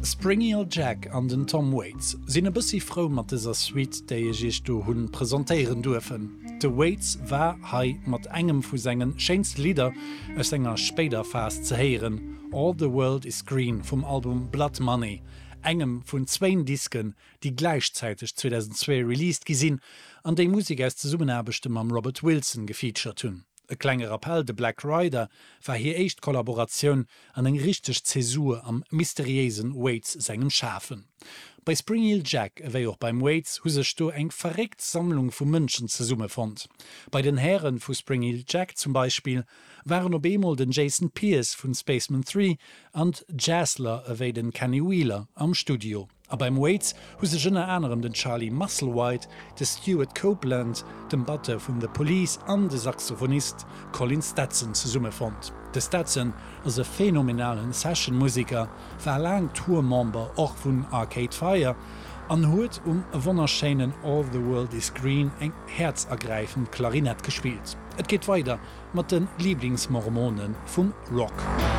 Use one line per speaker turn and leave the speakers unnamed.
Springy Ol Jack an den Tom Waits sinn e bëssi frou mat dëser Suite, déi ech iech do hunn presentéieren duerfen. De Waits war hei mat engem vu sengen schéinste Lidder aus senger spéider Phas ze héieren, All the World Is Green vum Album Blood Money, engem vun zwéin Disken, déi gläichzäiteg 2002 released gi sinn an déi Musek aus Zesummenaarbechte mam Robert Wilson gefeatured hunn. E klenge Rappell, De Black Rider war hir éischt Kollaboratioun an eng richteg Zäsur am mysteriéisen Waits sengem Schafen. Bei Spring Heel Jack ewéi och beim Waits hu sech do eng verréckt Sammlung vu Mënschen zesummefonnt. Bei den Häre vu Spring Heel Jack zum Beispill waren op eemol den Jason Pierce vun Spacemen 3 an d'Jazzler ewéi den Kenny Wheeler am Studio. A beim Waits hu sech ënner anerem den Charlie Musselwhite, de Stewart Copeland, dem Batteur vun The Police an de Saxophonist Colin Stetson zesummefonnt. De Stetson ass e phänomenalen Session-Museker, war laang Tour-Member och vun Arcade Fire an huet um wonnerschéinen All the World Is Green eng häerzergräifend Klarinett gespillt. Et geet weider mat de Liblingsmormone vum Rock.